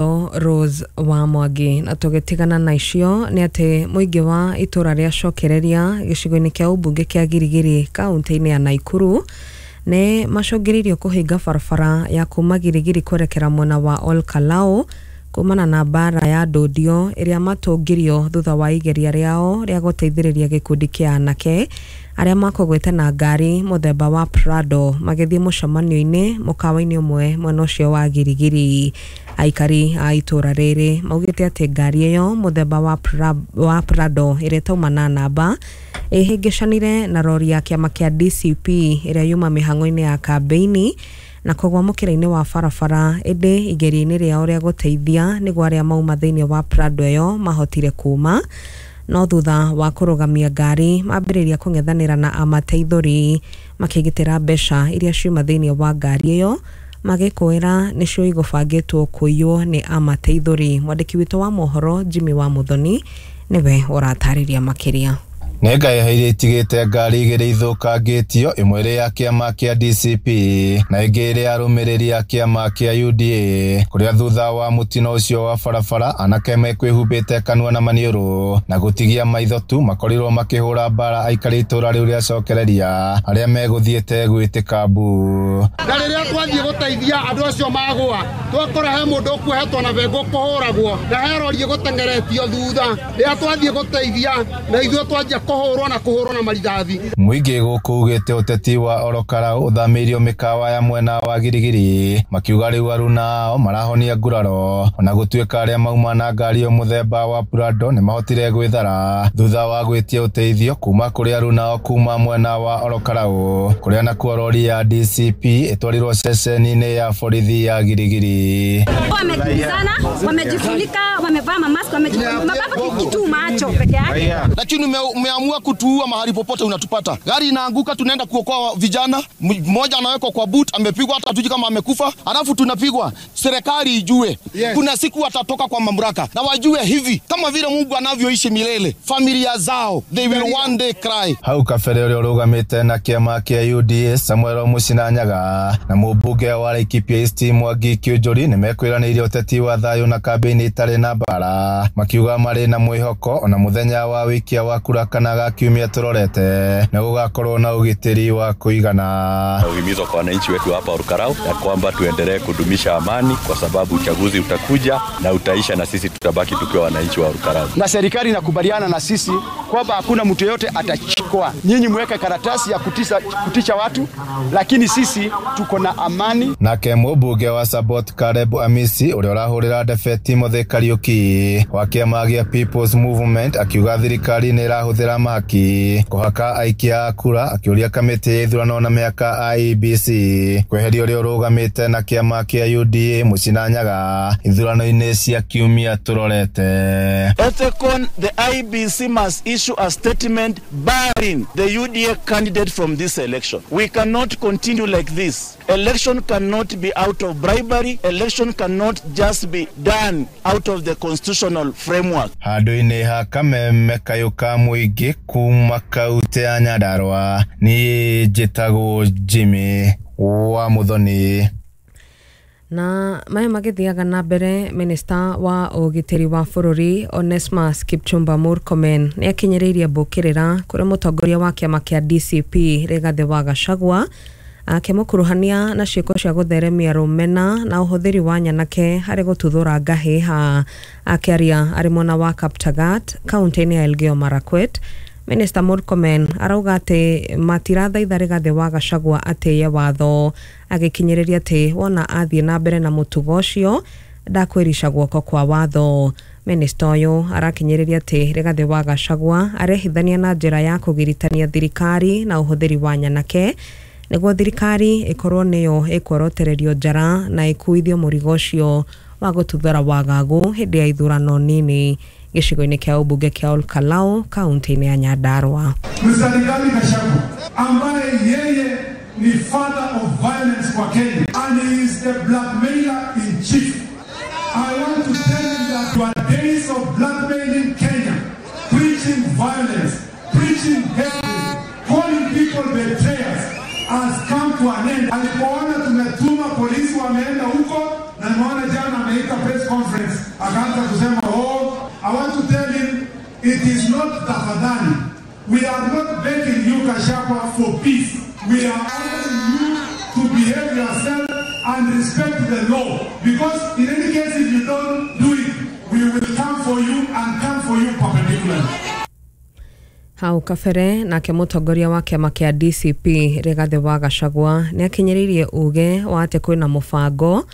Rose wa Mwangi. Na tũgĩtigana na icio nĩ atĩ mũingĩ wa itũra rĩa Cokereria gĩcigo-inĩ kĩa ũmbunge kĩa Girigiri kaunti-inĩ ya Naikuru nĩ macũngĩrĩirio kũhinga barabara ya kuma Girigiri kwerekera mwena wa Ol Kalou kumana na mbara ya ndũndio ĩrĩa matũngirio thutha wa igeria rĩao rĩa gũteithĩrĩria gĩkundi kĩa anake arĩa makũgwĩte na ngari mũthemba wa Prado magĩthiĩ mũcemanio-inĩ mũkawa-inĩ ũmwe mwena ũcio wa Girigiri. Aikari a itũra rĩrĩ maugĩte atĩ ngari ĩyo mũthemba wa Prado ĩrĩa ĩtauma na namba ĩhĩngĩcanire na rori ya kĩama kĩa DCP ĩrĩa yuma mĩhang'o-inĩ ya kambĩini na kũgwa mũkĩra-inĩ wa barabara, ĩndĩ igeria-inĩ rĩao rĩa gũteithia nĩguo arĩa mauma thĩinĩ wa Prado ĩyo mahotire kuma, no thutha wa kũrũgamia ngari mambĩrĩria kũng'ethanĩra na amateithũri makĩgitĩra mbeca iria ciuma thĩinĩ wa ngari ĩyo magĩkũĩra nĩcio igũbangĩtwo kũiywo nĩ amateithũri. Mwandĩki witũ wa mohoro Jimmy wa Muthoni nĩwe ũratarĩria makĩria. Nĩ ngahĩha iria itigĩte ngari igĩrĩ ithũkangĩtio, ĩmwe ĩrĩ ya kĩama kĩa DCP na ĩngĩ ĩrĩ ya arũmĩrĩri a kĩama kĩa UDA, kũrĩa thutha wa mũtino ũcio wa barabara anake mekwĩhumbĩte kanua na maniũrũ na gũtigia maitho tu makorirwo makĩhũra mbara aikari itũra rĩu rĩa Cokereria arĩa megũthiĩte gwĩtĩka mbu. Na rĩrĩa twathiĩ gũteithia andũ acio magũa, twakora he mũndũ ũkuohetwo na bengo kũhũragwo na he rori ĩgũteng'eretio thutha. Rĩrĩa twathiĩ gũteithia na ithuĩ twanjia kũhũrwo na kũhũrwo na marithathi. Mũingĩ gũkũ ugĩte ũteti wa Ol Kalou ũthamĩirio mĩkawa ya mwena wa Girigiri, makiuga rĩu aruna ao marahonia nguraro, ona gũtuĩka arĩa mauma na ngari ĩyo mũthemba wa Prado nĩmahotire gwĩthara thutha wa gwĩtia ũteithio kuma kũrĩ aruna ao kuma mwena wa Ol Kalou, kũrĩa nakuo rori ya DCP ĩtwarirwo ceceni-inĩ ya borithi ya Girigiri. Wamekimbizana, wamejifunika, wamevaa mamask, wamejifunika kitu macho peke yake. Lakini umeamua kutuua mahali popote unatupata. Gari inaanguka, tunaenda kuokoa vijana, mmoja anawekwa kwa boot, amepigwa hata hatujui kama amekufa, alafu tunapigwa. Serikali ijue, yes, kuna siku watatoka kwa mamlaka na wajue hivi kama vile Mungu anavyoishi milele, familia zao they will one day cry. Hau kabere ũrĩa ũrũgamĩte na kĩama kĩa UDA Samuel Mũcinanyaga na mũmbunge wa Laikipia East Mwangi Kiunjuri nĩmekwĩranĩire ũteti wa thayũ na kambĩini itarĩ na mbara, makiuga marĩ na mwĩhoko ona mũthenya wa wĩikia wa kura kana ga kiumia tũrorete nĩ gũgakorwo na ũgitĩri wa kũigana. Uhimizo kwa wananchi wetu hapa Ol Kalou ya kwamba tuendelee kudumisha amani kwa sababu uchaguzi utakuja na utaisha na sisi tutabaki tukiwa wananchi wa Ol Kalou. Na serikali inakubaliana na sisi kwamba hakuna mtu yeyote atachukua. Nyinyi mweke karatasi ya kutisha watu, lakini sisi tuko na amani. Nake mũmbunge wa Sabot Caleb Amisi ũrĩa ũrahũrĩra ndebe Timothy Kariuki wa kĩama gĩa People's Movement akiuga thirikari nĩ ĩrahũthĩra mahaki kũhaka aikia a kura, akĩũria kamĩtĩ ya ithurano na mĩhaka IEBC kweheria ũrĩa ũrũgamĩte na kĩama kĩa UDA Mũcinanyaga ithurano-inĩ cia kiumia tũrorete. Ethekon, the IEBC must issue a statement barring the UDA candidate from this election. We cannot continue like this. Election cannot be out of bribery. Election cannot just be done out of the constitutional framework. Handũ-inĩ ha kameme kayũ ka mũingĩ kuma kaunti ya Nyandarua, niĩ njĩtagwo Jimmy wa Muthoni. Na maya magĩthiaga na mbere, minista wa ũgitĩri wa bũrũri Onesmus Kipchumba Murkomen nĩ akinyĩrĩirie mbũkĩrĩra kũrĩ mũtongoria wa kĩama kĩa DCP Rigathĩ wa Gachagua akĩmũkuruhania na ciĩko cia gũtheremia rũmena na ũhũthĩri wa nyanake harĩ gũtuthũra ngahĩha. Akĩaria arĩ mwena wa Kaptagat kaunti-inĩ ya Elgeyo Marakwet, Minista Murkomen arauga atĩ matirathaitha Rigathĩ wa Gachagua atĩye watho, agĩkinyĩrĩria atĩ wona athiĩ na mbere na mũtugo ũcio ndakwĩrica guoko kwa watho. Minista ũyũ arakinyĩrĩria atĩ Rigathĩ wa Gachagua arehithania na njĩra ya kũgiritania thirikari na ũhũthĩri wa nyanake nĩguo thirikari ĩkorwo nĩyo ĩkworotererio njara na ĩkuithio mũrigo ũcio wa gũtuthũra wagagu hĩndĩ ya ithurano nini gĩcigo-inĩ kĩa ũmbunge kĩa Ol Kalou kaunti-inĩ ya Nyandarua. Mr. Rigathi Gachagua ambaye yeye ni father of violence kwa Kenya and he is the blackmailer in chief. I want to tell him that your days of blackmailing Kenya, preaching violence, preaching hatred, calling people betrayers has come to an end. Alipoona tumetuma polisi wameenda huko na nimeona jana ameita Akaita press conference akaanza kusema, oh, I want to tell him it is not tafadhali. We are not begging you, Gachagua, for peace. We are asking you to behave yourself and respect the law. Because in any case, if you don't do it, we will come for you and come for you perpendicularly. Hau kabere nake mũtongoria wa kĩama kĩa DCP Rigathĩ wa Gachagua nĩ akinyĩrĩirie uge wa atĩ kwĩna mũbango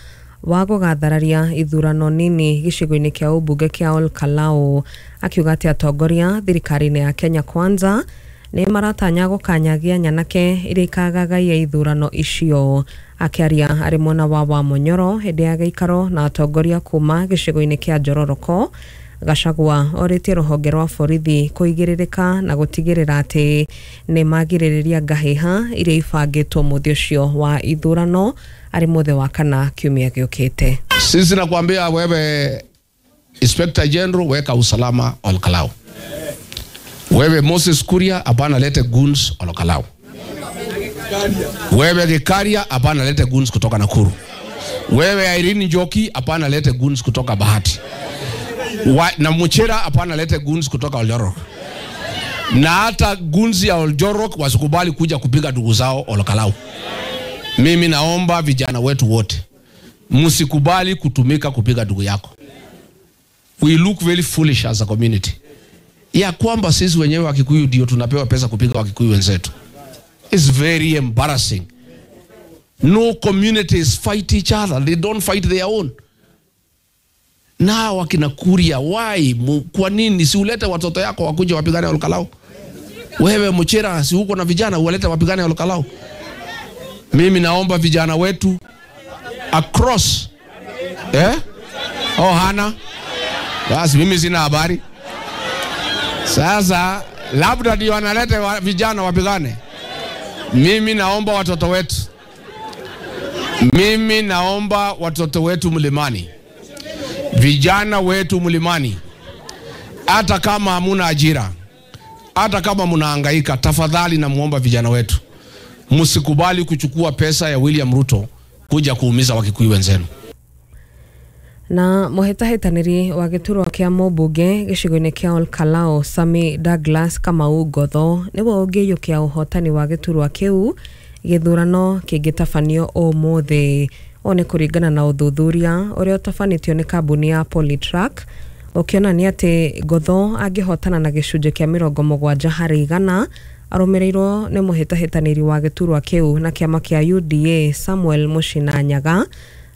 wa gũgathararia ithurano nini gĩcigo-inĩ kĩa ũmbunge kĩa Ol Kalou, akiuga atĩ atongoria thirikari-inĩ ya Kenya Kwanza nĩ maratanya gũkanyagia nyanake iria ikagagaia ithurano icio. Akĩaria arĩ mwena wa Wamunyoro hĩndĩ ya gĩikaro na atongoria kuma gĩcigo-inĩ kĩa Njororoko, Gachagua orĩtie rũhonge rwa borithi kũigĩrĩrĩka na gũtigĩrĩra atĩ nĩ magirĩrĩria ngahĩha iria ibangĩtwo mũthĩ ũcio wa ithurano arĩ mũthĩ wa kana kiumia gĩũkĩte. Sisi nakwambia wewe Inspector General, weka usalama Ol Kalou. Wewe Moses Kuria, hapana lete goons Ol Kalou. Wewe Gikaria, hapana lete goons kutoka Nakuru. Wewe Irene Njoki, hapana lete goons kutoka Bahati. Na Muchira, hapana lete goons kutoka Oljorok. Na hata goons ya Oljorok wasikubali kuja kupiga ndugu zao Ol Kalou. Mimi naomba vijana wetu wote, msikubali kutumika kupiga ndugu yako. We look very foolish as a community. Ya kwamba sisi wenyewe Wakikuyu ndio tunapewa pesa kupiga Wakikuyu wenzetu. It's very embarrassing. No communities fight each other. They don't fight their own. Na wakina Kuria, why? Kwa nini si ulete watoto yako wakuje wapigane Ol Kalou? Wewe Muchira, si uko na vijana uwalete wapigane Ol Kalou? Mimi naomba vijana wetu across, eh? Oh, hana. Basi mimi sina habari. Sasa labda ndio wanalete vijana wapigane. Mimi naomba watoto wetu. Mimi naomba watoto wetu mlimani. Vijana wetu mlimani. Hata kama hamuna ajira, hata kama mnahangaika, tafadhali namuomba vijana wetu, msikubali kuchukua pesa ya William Ruto kuja kuumiza Wakikuyu wenzenu. Na mũhĩtahĩtanĩri wa gĩturwa kĩa mũmbunge gĩcigo-inĩ kĩa Ol Kalou Sami Douglas Kamau Ngotho nĩwe ũngĩiyũkia ũhotani wa gĩturwa kĩu gĩthurano kĩngĩtabanio ũmũthĩ. Ũũ nĩ kũringana na ũthuthuria ũrĩa ũtabanĩtio nĩ kambuni ya Polytrack ũkĩonania atĩ Ngotho angĩhotana na gĩcunjĩ kĩa 70% arũmĩrĩirwo nĩ mũhĩtahĩtanĩri wa gĩturwa kĩu na kĩama kĩa UDA Samuel Muchina Nyaga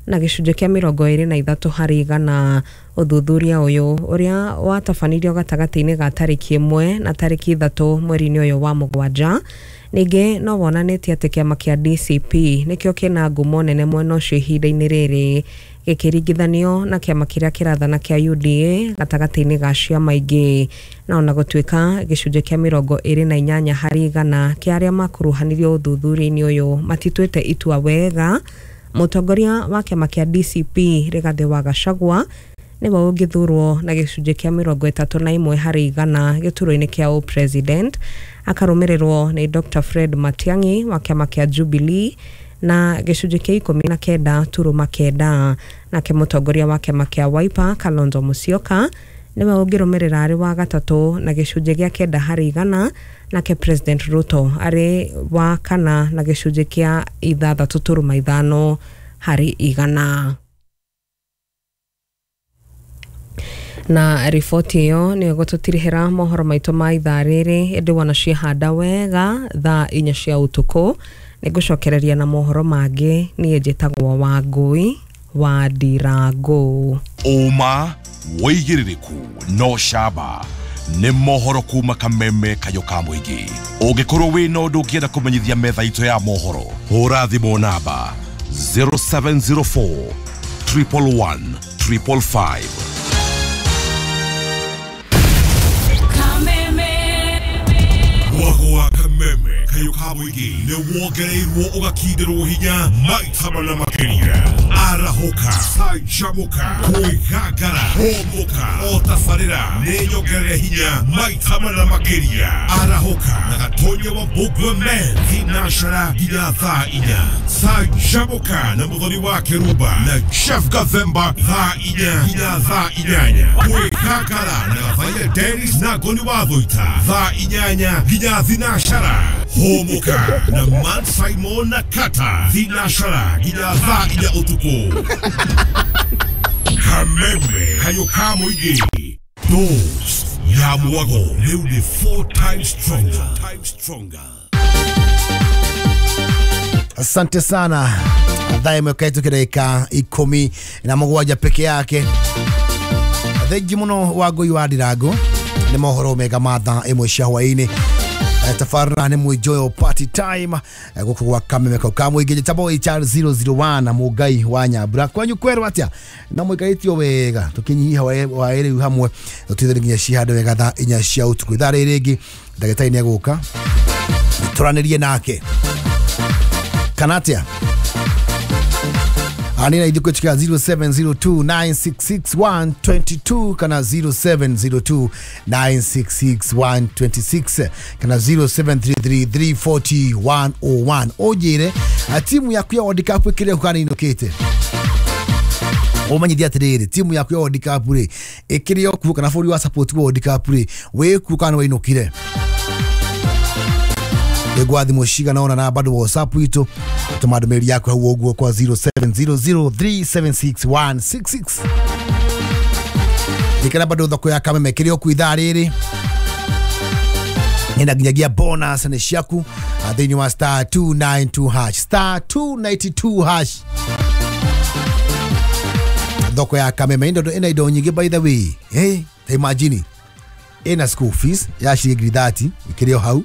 na gĩcunjĩ kĩa 23%. Ũthuthuria ũyũ ũrĩa watabanirio gatagatĩ-inĩ ga tarĩki 1 na tarĩki 3 mweri-inĩ ũyũ wa 7 ningĩ no wonanĩtie atĩ kĩama kĩa DCP nĩkĩo kĩna ngumo nene mwena ũcio ihinda-inĩ rĩrĩ gĩkĩringithanio na kĩama kĩrĩa kĩrathana kĩa UDA gatagatĩ-inĩ ga ciama ingĩ. Na ona gũtuĩka gĩcunjĩ kĩa 28% kĩa arĩa makuruhanirio ũthuthuria-inĩ ũyũ matituĩte itua wega, mũtongoria wa kĩama kĩa DCP Rigathĩ wa Gachagua nĩwe ũngĩthurwo na gĩcunjĩ kĩa 31% gĩturwa-inĩ kĩa ũpresident, akarũmĩrĩrwo nĩ Dr. Fred Matiang'i wa kĩama kĩa Jubilee na gĩcunjĩ kĩa 19.9. Nake mũtongoria wa kĩama kĩa Wiper Kalonzo Musyoka nĩwe ũngĩrũmĩrĩra arĩ wa gatatũ na gĩcunjĩ gĩa 9%, nake President Ruto arĩ wa kana na gĩcunjĩ kĩa 6.5%. Na riboti ĩyo nĩyo ĩgũtũtirihĩra mohoro maitũ ma ithaa rĩrĩ, ĩndĩ wona ciehanda wega thaa 4 cia ũtukũ nĩngũcokereria na mohoro mangĩ. Niĩ njĩtagwo Wangũi wa Ndirango. Ũma wĩigĩrĩrĩku no camba nĩ mohoro kuma Kameme Kayũ ka mũingĩ. Ũngĩkorwo wĩna ũndũ ũngĩenda kũmenyithia metha itũ ya mohoro, hũra thimũ namba 0704 111 555. Mwago wa Kameme Kayũ ka mũingĩ nĩ wongereirwo ũgakindĩrwo hinya maita mana makĩria. Arahũka, canjamũka, kwĩgangara. Hũmũka o tabarĩra nĩ nyongerere hinya maita mana makĩria. Arahũka na Gatonya wa Mbũgua Men thinacara nginya thaa 4. Canjamũka na Mũthoni wa Kĩrumba na Chef Gathemba thaa 4 nginya thaa 8. Gwĩkangara na Gathaia Dennis na Ngoni wa Thũita thaa 8 nginya thinacara. Hũmũka na Matt Simon na Kata thinacara nginya thaa 4 ũtukũ. Kameme kayo ka mũingĩ. Dose ya mwago rĩu nĩ 4 times stronger. Asante sana. Thaa ĩmwe kaĩtũkĩra dakika 17 peke yake. Thengi mũno wa Ngũi wa Ndirango nĩ mohoro mega ma thaa 1 cia hwaĩ-inĩ. Tabarĩra nĩ Mwijoyo party time gũkũ gwa Kameme kau ka mũingĩ. Njĩtagwo HR001 na Mũngai wa Nyambura. Kwanyu kwerwo atĩa? Na mũikarĩtio wega tũkĩnyihia waĩ rĩu hamwe tũtithĩre nginya cihande wega thaa 4 cia ũtukũ. Ithaa rĩrĩ rĩngĩ ndagĩtarĩ nĩegũka tũranĩrie nake kana atĩa? Anina ithuĩ kũchika 0702966122 kana 0702966126 kana 0733340101. Ũnjĩre timu yaku ya World Cup ĩkĩrĩ kana ĩinũkĩte. Ũmenyithie atĩrĩrĩ, timu yaku ya World Cup rĩ ĩkĩrĩ o kuo kana bũrũri wa support World Cup rĩ wĩ kuo kana wainũkire. Nĩngwa thimũ cigana ũna na bado WhatsApp itũ tũma ndũmĩrĩri yaku hau ũguo kwa 0700376166. Ndikana bado thoko ya Kameme kĩrĩ o kuo ithaa rĩrĩ ĩna nginyagia bonus nĩ ciaku thĩinĩ wa star 292 hash, star 292 hash. Thoko ya Kameme ĩna indo nyingĩ by the way. Ta imagine ĩna school fees ya ciringi 30 ĩkĩrĩ o hau,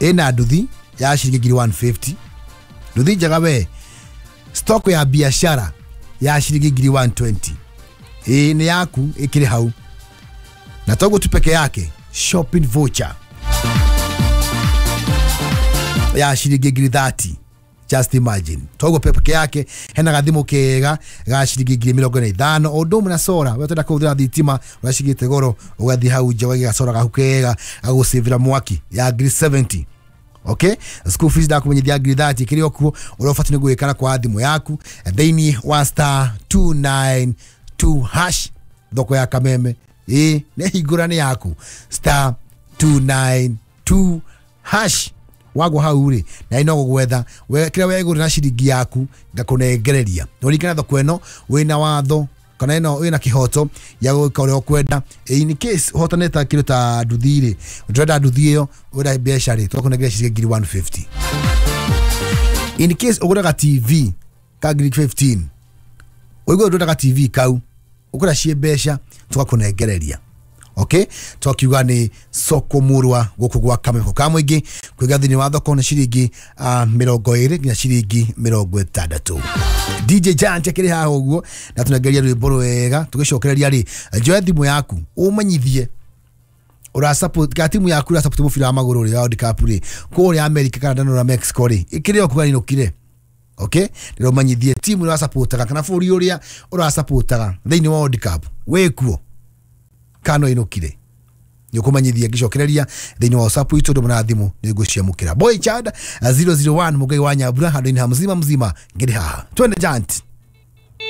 ĩna nduthi ya ciringi 150, nduthi njega we, stock ya biashara ya ciringi 120, ĩ nĩ yaku ĩkĩrĩ hau. Na toguo tu peke yake shopping voucher ya ciringi 30. Just imagine. Toguo peke yake hena gathimũ kega ga ciringi 45. O ũndũ ũmwe na sora, we ũtenda kũhũthĩra thitima ũracigĩte goro ũgathiĩ hau nja ũgaiga sora gaku kega gagũcĩvĩra mwaki ya 70. Okay, school fees ndakumenyithia 30 kĩrĩ o kuo. Ũrĩa ũbatiĩ nĩ gwĩka kwa thimũ yaku thĩinĩ wa star 292 hash thoko ya Kameme ĩ nĩ hingũra nĩ yaku star 292 hash. Wagwo hau rĩ na ino gũgwetha kĩrĩa wegũrĩra na ciringi yaku ngakũnengereria. Ũringana thoko ĩno wĩna watho kana ĩno wĩna kĩhoto ya gwĩka ũrĩa ũkwenda. In case ũhotanĩte kĩndũ ta nduthi rĩ, ũndĩrenda nduthi ĩyo ũrenda mbeca rĩ, tũgakũnengereria ciringi 150. In case ũgũraga TV ka 15, ũigue ũndĩrendaga TV kau ũkũra ciĩ mbeca tũgakũnengereria. Okay, twakiuga nĩ soko murwa gũkũ gwa Kameme ka mũingĩ kwiga thĩinĩ wa thoko nĩ ciringi 20 nginya ciringi 60. DJ Giant akĩrĩ haha ũguo na tũnengeria rwĩmbo rwega tũgĩcokereria rĩ, njoe thimũ yaku ũmenyithie ũra support ka timu yaku ũra support mũbira wa magũrũ rĩ wa World Cup rĩ kũrĩa America kana na Mexico rĩ ĩkĩrĩ o kuga ĩinũkire. Okay, ndĩromenyithie timu ũra supportaga kana bũrũri ũrĩa ũra supportaga thĩinĩ wa World Cup wĩ kuo kana ĩinũkire. Nĩũkũmenyithia ngĩcokereria thĩinĩ wa WhatsApp itũ ndũmũ na thimũ nĩngũciamũkĩra. Boy Chad 001 Mũngai wa Nyambura handũ-inĩ ha mzima mzima ngĩrĩ haha. Twende Giant.